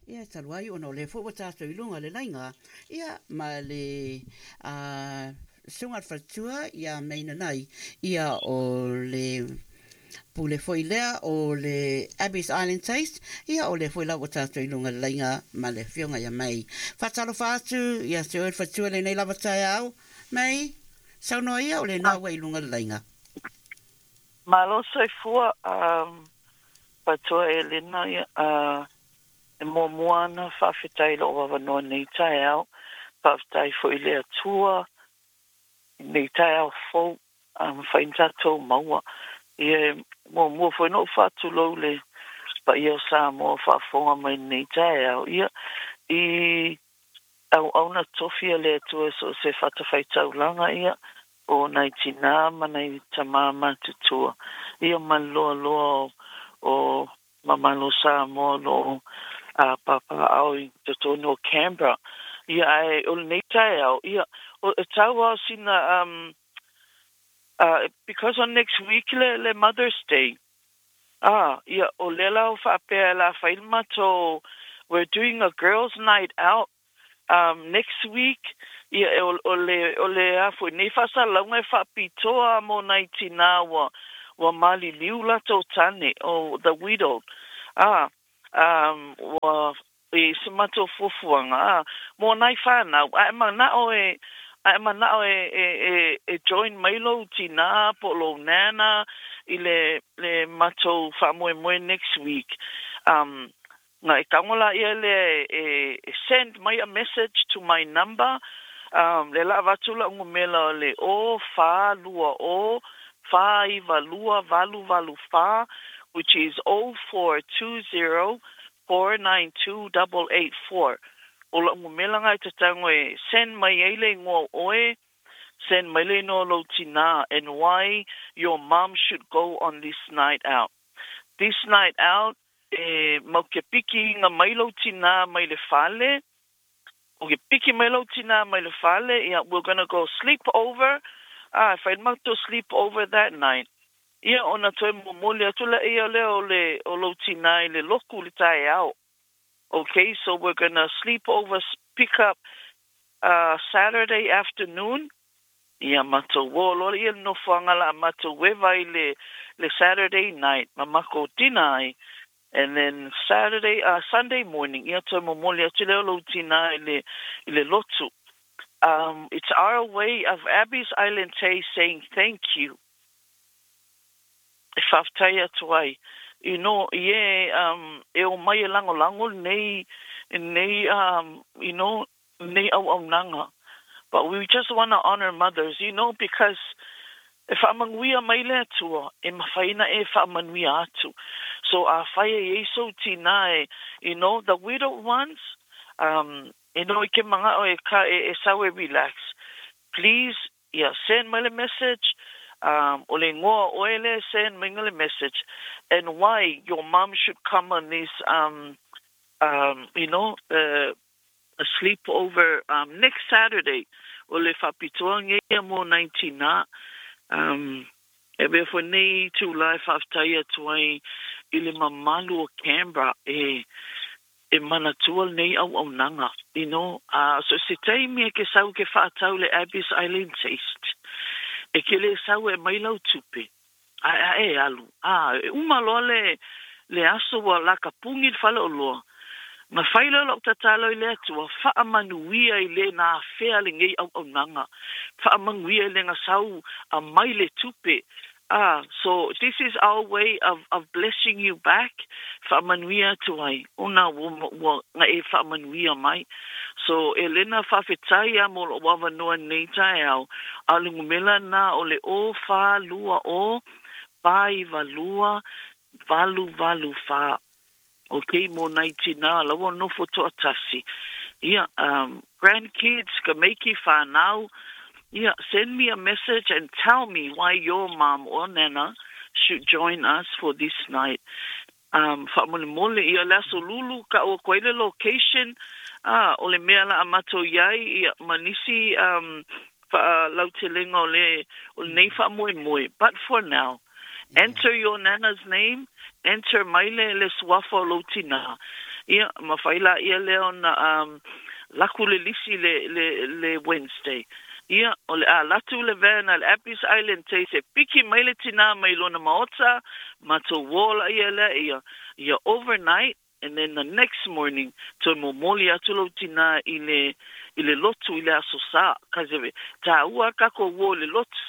Ia, talu ai ona o lea foi ua tatou i luga o le laina, ia, ma le Susuga i le Faletua ia May Nanai, ia, o le pule foi lea o le Abbey's Island Taste, ia, o lea foi la ua tatou i luga o le laina ma le Afioga ia May. Faatalofa atu ia te oe le Faletua i lenei lava taeao. May, saunoa ia, o lena ua i luga o le laina. Malo soifua, Faletua Elena, ia, e muamua ana faafetai i lou avanoa i lenei taeao. Faafetai foi i le Atua i lenei taeao fou a mafai ona tatou maua. Ia, e muamua foi ona ou faatulou i le paia o Samoa o faafofoga mai i lenei taeao. Ia, i auauna tofi a le Atua i so o se fatafaitaulaga, ia, o nai tinā ma nai tamā matutua, ia, ma le loaloa o mamalu o Samoa o lo o papaaao i totonu o Canberra. Ia, ae o lenei taeao, ia, e tau lava o sina, because on next week le Mother's Day, ia, o lea la ua faapea e la fai le matou, we're doing a girls night out next week, ia, o le, o le a foi nei faasalalauga e faapitoa mo nai tinā ua maliliu latou tane, o the widowed, ua i se matou fuafuaga, mo nai whanau, a e manao e, a e manao e join mai lou tinā po o lou nana i le matou faamoemoe next week, na e tago laia lea e send mai a message to my number, le la avatu la'u numera o le 0420 492 884, which is 0420 492 884. O la'u numera lena e tatago e send mai ai le igoa o oe, send mai le igoa o lou tinā, and why your mom should go on this night out. This night out, e mau ke piki inga mai lou tinā mai le fale, o ke piki mai lou tinā mai le fale, ia, we're gonna go sleep over, fai le matou sleep over that night. Ia, ona toe momoli atu laia lea o le o lou tinā i le lotu i le taeao. Okay, so we're gonna sleep over, pick up Saturday afternoon, ia matou o loa ia le nofoaga la a matou eva i le Saturday night, ma makou dinner ai. And then Saturday, Sunday morning, ia toe momoli atu lea o lou tinā i le lotu. It's our way of Abbey's Island Taste saying thank you. E faafetai atu ai. I e o mai e lagolago lenei lenei auaunaga. But we just want to honor mothers, because e faamanuia mai le Atua, e mafai ona e faamanuia atu. So afai e iai sou tinā e, the widow ones, i ke mana'o e ka e sau e relax. Please, ia, send mai le message, o le igoa o oe le send mai le message, and why your mom should come on this, a sleepover next Saturday. O le faapitoa ia mo nai tinā. E avea foi nei itulā e faafetai atu ai i le mamalu o Canberra e manatua lenei auaunaga. So se taimi e ke sau ke faatau le Abbey's Island Taste. E ke le sau e mai lau tupe. A e alu. E uma loa le aso ua laka pugi le fale oloa. Na fai lea o la'u tatalo i le Atua, faamanuia i le na afea lenei auaunaga. Faamanuia i le gasau a mai le tupe. So this is our way of blessing you back. Faamanuia atu ai. Ona ua na e faamanuia mai. So e lena faafetai a mo lou avanoa nei taeao. A o le numera na o le 0420 492 884. Okay, mo nai tinā laua nofo toatasi. Ia, grandkids, ka meiki whanau, ia, send me a message and tell me why your mom or nana should join us for this night. Faamolemole, ia le aso Lulu, ka o koe le location, o le mea la a matou iai, ia, ma nisi faalautelega o lenei faamoemoe. But for now, enter your nana's name, enter mai le suafa o lou tinā. Ia, mafai laia lea ona um, laku le lisi le, le, le Wednesday. Ia, o le a alu atu le van a le Abbey's Island Taste e piki mai le tinā mai lona maota, matou uō laia lea, ia, ia overnight, and then the next morning, toe momoli atu lou tinā i le, i le lotu i le Aso Sa, cause e tāua a takou uō i le lotu.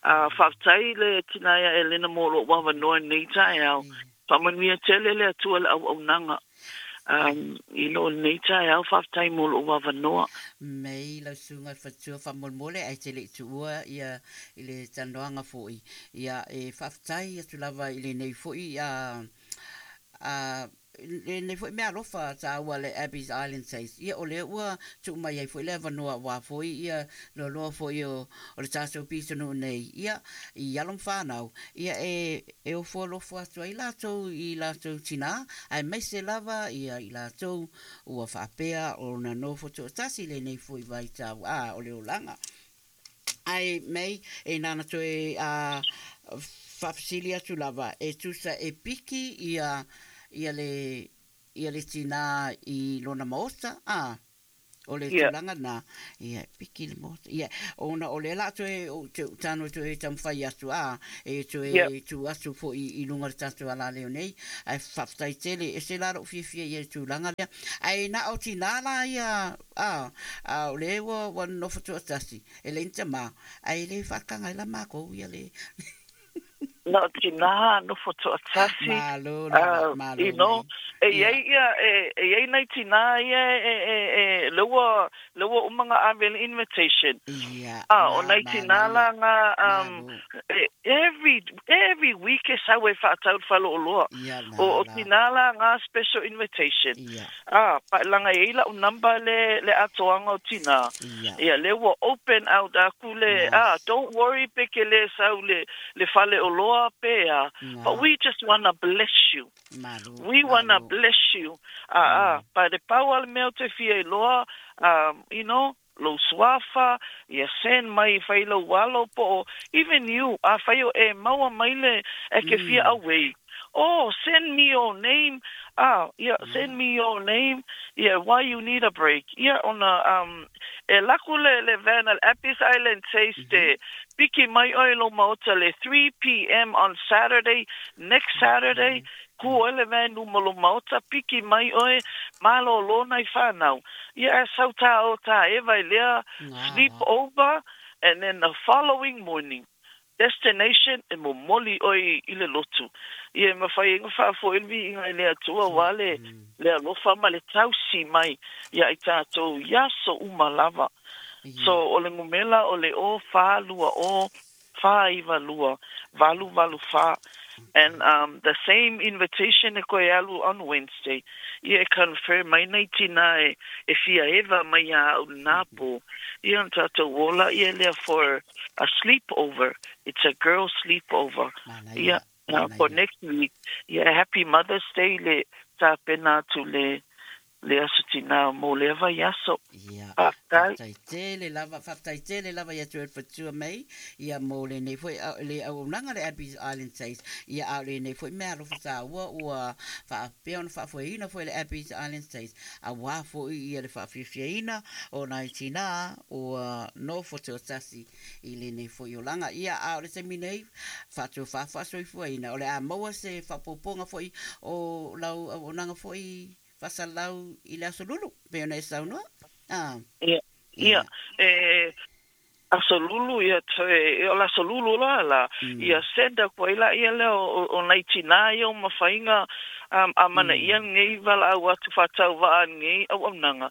Uh, faafetai le tinā ia Elena mo lou avanoa i lenei taeao. Faamanuia tele le Atua i le auaunaga um, i loo lenei taeao. Faafetai mo lou avanoa. Mei lau susuga i le faletua faamolemole ae te le i tuua ia i le talanoaga foi ia e faafetai atu lava i lenei foi a a lenei foi meaalofa taua le Abbey's Island Taste, ia o lea ua tuu mai ai foi le avanoa aua foi ia loaloa foi o o le tatou pitonuu nei, ia i alo ma fanau, ia e e ofo alofa atu ai latou i latou tinā, aemaise lava ia i latou ua faapea ona nofo toatasi lenei foi vaitau, a o le olaga. Ae mei, e nana toe a faafesili atu lava, e tusa e piki ia ia le ia le tinā i lona maota, a, o le tulaga lena, ia e piki i le maota. Ia, ona o lea la a toe, ou te tago e toe taumafai atu, a, e toe tuu atu foi i luga o le tatou alaleo nei, ae faafetai tele, ese la lou fiafia i le tulaga lea. Ae na o tinā la ia A, a o lea ua, ua nonofo toatasi, e leai ni tamā, ae le faataga ai la makou ia le. Na o tinā nofo toatasi. Malo lava, malo you know, mai. E iai ia, e, e iai nai tinā ia e, e, e, lea ua, lea ua uma ona ave le invitation. Ia, A, o nai tinā la nga, um, malo. e, every, every week e sau e faatau le faleoloa. Ia, O, o tinā la nga special invitation. Ia. A, paelaga e iai la'u number le, le atoaga o tinā. Ia. Ia, lea ua open out aku le, a, don't worry pe ke lē sau le, le faleoloa pe a, but we just wanna bless you. Malo, We wanna malo. bless you. A, a, but e pau a le mea ou te fia iloa, um, you know, lou suafa, ia send mai e fai lou alo po o even you, afai o e maua mai le e ke fia away, oh send me your name, ah ia send me your name, ia why you need a break, ia ona um e laku le le van a le Appies Island Taste e piki mai oe i lou maota le 3 pm on Saturday, next Saturday, Kū oe le van luma o lou maota, piki mai oe, malōlō nai whānau. Ia, ae sau tā o tā Eva i lea sleep over and then the following morning, destination e momoli oe i le lotu. Ia, e mawhai ai ona whaafoe le viiga i le Atua aua le le alofa ma le tausi mai ia i tātou i aso uma lava. So, o le ngumela o le o 4 2 o 4 9 2 8 8 4 and um the same invitation e koe alu on Wednesday ia e confirm mai nei tinā e e fia eva mai iā au lenā pō ia ona tātou ola ia lea for a sleep over it's a girl sleep over ia for next week ia happy Mother's Day le tapena atu le le aso tinā mō lea vaiaso. Ia, Faafetai. faafetai tele lava, faafetai tele lava ia te oe Fatua May, ia mō lenei foi le auaunaga le Abbey's Island Taste, ia a o lenei foi meaalofa tāua ua faapea ona faafoeina foi le Abbey's Island Taste, auā foi ia le faafiafiaina o nai tinā ua nofo tuatasi i lenei foi olaga. Ia, a o le taimi nei, faatofa faasoifuaina, o le a maua se faaopoopoga foi o lau auaunaga foi Faasalalau i le Aso Lulu, pei ona e saunoa. Ah. Ia, ia, e Aso Lulu, ia, toe, o le Aso Lulu loa la, ia send aku ai laia lea o, o nai tinā ia o mafaiga um, a mana ia lenei valaau atu faatauvaa lenei auaunaga.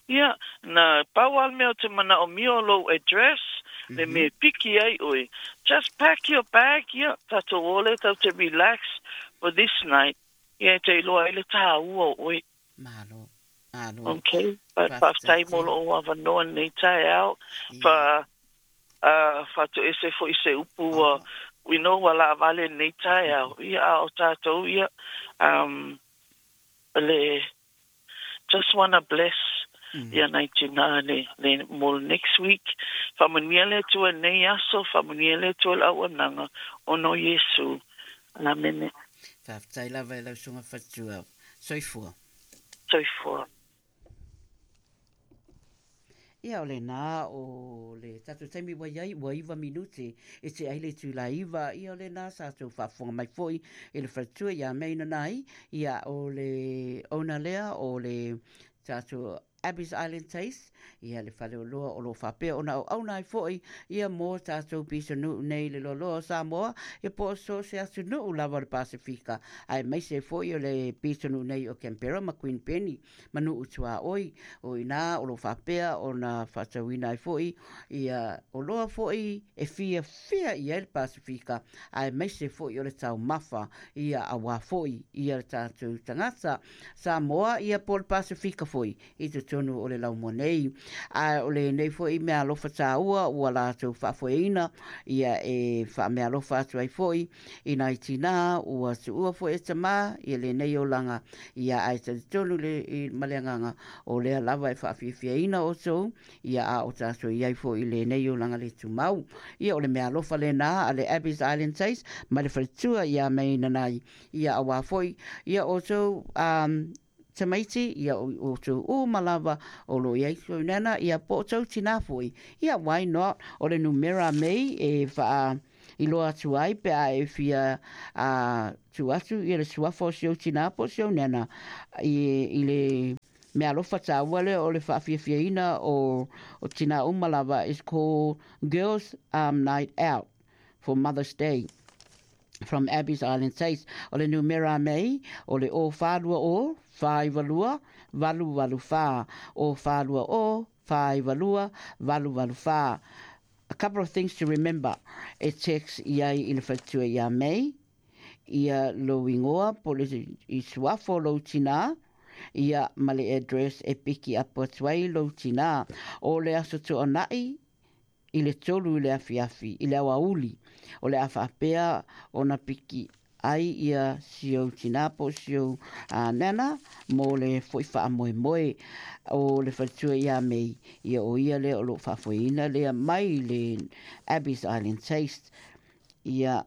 Ia, na pau a le mea o te manaomia o lou address, le mea e piki ai oe. Just pack your bag, ia, tatou o lea tatou te relax for this night. Ia e te iloa ai le tāua o oe. Malo. Malo. Ok. But faafetai mo lou avanoa lenei taeao. Fa, uh, faatoese foi se upu ua, you know, ua laavale lenei taeao. Ia, a o tātou, ia, um, le, just wanna bless ia nai tinā le, le, mo le next week. Faamanuia le Atua i lenei aso, faamanuia le Atua i le auaunaga, ona o Iesu. Amene. Faafetai lava e lau Susuga Fatua. Soifua. Soifua. Ia, o lena o le tatou taimi ua i ai, ua iva minute e tea ai le itula iva. Ia, o lena sa tou faafofoga mai foi i le faletua ia May Nanai. Ia, o le owner lea o le tatou Abbey's Island Taste, ia le faleoloa o lo o faapea ona auauna ai foi ia mo tatou pitonuu nei i le loaloa o Samoa, ia po o so o se atunuu lava o le Pasefika, aemaise foi o le pitonuu nei o Canberra ma Queen Penny ma nuu tuaoi. O i ina o lo o faapea ona faatauina ai foi ia oloa foi e fiafia i ai le Pasefika, aemaise foi o le taumafa, ia auā foi ia tatou tagata Samoa, ia po o le Pasefika foi i totonu o le laumua nei. A o lenei foi meaalofa tāua ua latou faafoeina, ia e faameaalofa atu ai foi i nai tinā ua tuua foi e tamā ia lenei olaga, ia ae talitonu le, i, ma le agaga o lea lava e faafiafiaina outou, ia a o tatou i ai foi i lenei olaga le tumau. Ia o le meaalofa lena a le Abbey's Island Taste ma le faletua ia May Nanai Ia auā foi, ia outou um, tamaiti, ia outou uma lava o lo o i ai tou nana, ia po o tou tinā foi. Ia why not? O le numera mei e whaa iloa atu ai pe a e fia uh, tu atu ia le suafa o si ou tinā po o si ou nana i, i le mea alofa tāua lea o le whaafiafiaina o, o tinā uma lava is called Girls um, Night Out for Mother's Day. From Abbey's Island Taste. O le numera mei, o le o whārua o, whāiwa valu valu whā. O whārua o, whāiwa lua, valu valu whā. A couple of things to remember. E text i ai i le whatua ia mei, ia lou ingoa, po le i suafo lou tinā, ia ma le address e piki apu atu ai lou tinā. O le aso tuanai, i le tolu i le afiafi, i le aoauli, o le a faapea ona piki ai ia si ou tinā po o si ou nana mo le foi faamoemoe o le faletua ia Mei, ia o ia lea o lo o faafoeina lea mai le Abbey's Island Taste. Ia,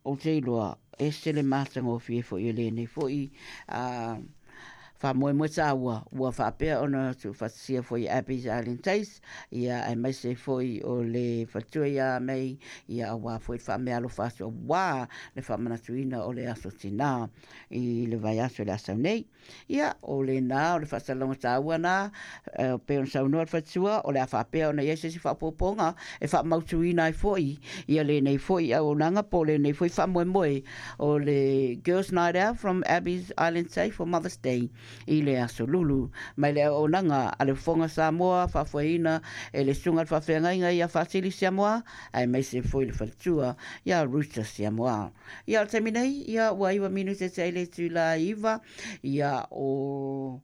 Ou te iloa, ese le matagofie foi o lenei foi a faamoemoe tāua ua faapea ona tuufaatasia foi e Abbey's Island Taste, ia aemaise foi o le faletua ia May, ia auā foi le faameaalofa atu auā le faamanatuina o le Aso Tinā i le vaiaso i le asau nei. Ia, o lena, o le faasalalauga taua na, e pei ona saunoa le faletua, o le a faapea ona i ai se isi faaopoopoga e faamautuina ai foi ia lenei foi auaunaga po o lenei foi faamoemoe o le Girls Night Out from Abbey's Island Safe for Mother's Day i le Aso Lulu. Mai le auaunaga a le Fofoga Samoa faafoeina e le Susuga i le Faafeagaiga ia Faatili Siamoa aemaise foi le faletua ia Ruta Siamoa. Ia, o le taimi nei, ia, ua iwa minute te ai le itula iva, ia, o,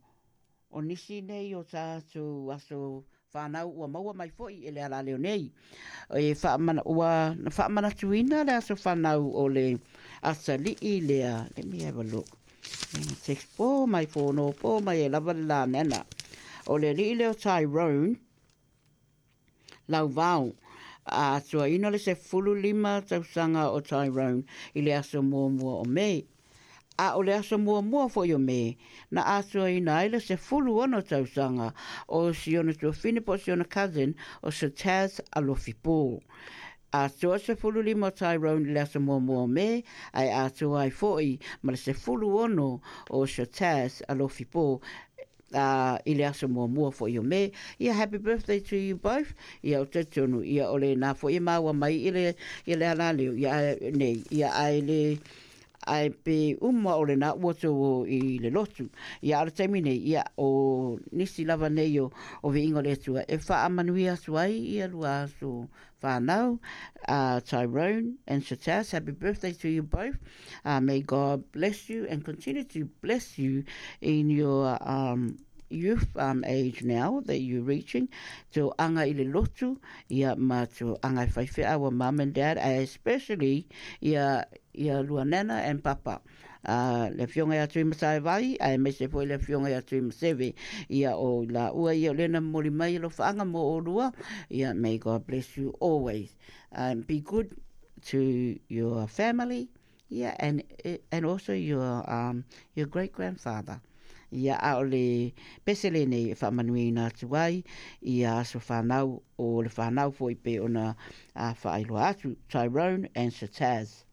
o nisi nei o tātou aso whānau ua maua mai foi e le alaleo nei. E whaamana, ua na whaamanatuina le aso whanau o le atalii lea. Let me have a look. Text po mai whōno po mai e lava le la nana. O le alii lea o Tyrone, Lauvao, a atuaina le 15 tausaga o Tyrone i le aso muamua o Me. A o le aso muamua foi o Me, na atuaina ai le 16 tausaga o si ona tuafine po o si ona cousin o Sir Taz Alofipo. Atoa 15 o Tyrone i le aso muamua o Me, ae atoa ai foi ma le 16 o Sir Taz Alofipo ā, i le aso muamua foi o Me, ia happy birthday to you both, ia ou te talitonu, ia o lena foi e maua mai i le, i le alaleo, ia ae nei, ia ae le, ae pe uma o lena ua tou o i le lotu. Ia a o le taimi nei, ia o nisi lava nei o, o viiga o le Atua e faamanuia atu ai ia lua aso whānau, uh, Tyrone and Shatas, happy birthday to you both. Uh, may God bless you and continue to bless you in your um, youth um, age now that you're reaching. To anga i le lotu, ia ma to anga i whaiwhea our mum and dad, especially ia, ia lua nana and papa. Uh, le afioga ia Tuimataivaai, aemaise foi le afioga ia Tuimaseve, ia o la ua ia o lena momoli mai alofaaga mo olua, ia may God bless you always. Um, be good to your family, yeah, and, and also your, um, your great grandfather. Ia, a o le pese lenei e faamanuiaina atu ai ia aso fanau o le fanau foi pei ona faailoa atu, Tyrone and Sir Taz.